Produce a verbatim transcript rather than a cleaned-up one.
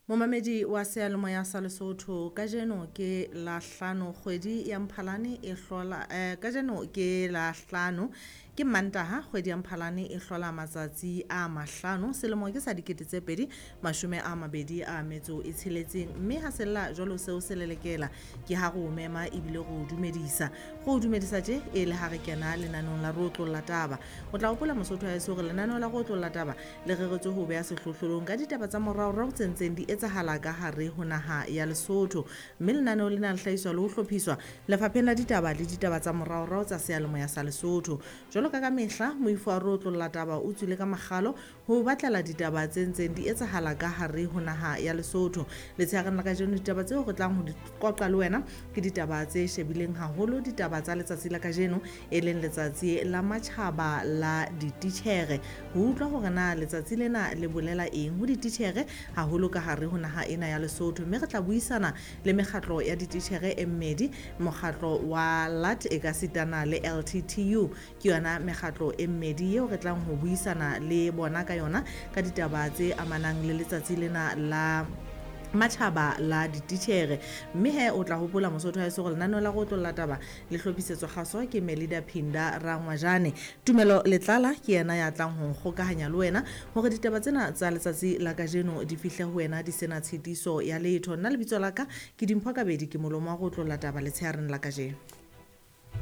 Momamedi wa seyalemoya sa Lesotho, kajeno ke la hlano kgwedi ya Mphalane e hlola eh, kajeno ke la hlano ke Mantaha kgwedi ya Mphalane e hlola matsatsi a mahlano selemo ke sa dikete tse pedi mashome a mabedi a metso e tsheletseng, mme ha sella jwalo seo se lelekela ke ha re o mema ebile re o dumedisa re o dumedisa tje e le ha re kena lenaneong la Re Otlolla Taba. O tla hopola Mosotho wa heso hore lenaneo la Re Otlolla Taba le reretswe ho beha sehlohlolong ka ditaba tsa moraorao tse ntseng di etsahala ka hare ho naha ya Lesotho, mme lenaneo lena le hlahiswa le ho hlophiswa lefapheng la ditaba le ditaba tsa moraorao tsa seyalemoya sa Lesotho. Jwalo ka ka mehla moifo wa Re Otlolla Taba o tswile ka makgalo ho batlela ditaba tse ntseng di etsahala ka hare ho naha ya Lesotho. Letshehareng la kajeno ditaba tseo re tlang ho di qoqa le wena ke ditaba tse shebileng haholo, ditaba tsa letsatsi la kajeno e leng letsatsi la matjhaba la dititjhere. Ho utlwa hore na letsatsi lena le bolela eng ho dititjhere haholo ka hare ho naha ena ya Lesotho, mme re tla buisana le mekgatlo ya dititjhere e mmedi, mokgatlo wa L A T e ka sitana le L T T U, ke yona mekgatlo e mmedi eo re tlang ho buisana le bona ka yona ka ditaba tse amanang le letsatsi lena la matjhaba la dititjhere. Mme he o tla hopola Mosotho wa heso hore lenaneo la Re Otlolla Taba le hlophisetswa kgaso ke Melida Phinda Rangwajane. Tumelo Letlala ke yena ya tlang ho nkgokahanya le wena hore ditaba tsena tsa letsatsi la kajeno di fihle ho wena di sena tshitiso ya letho. Nna lebitso la ka ke Dimpho Kabedi, ke molomo wa Re Otlolla Taba letshehareng la kajeno.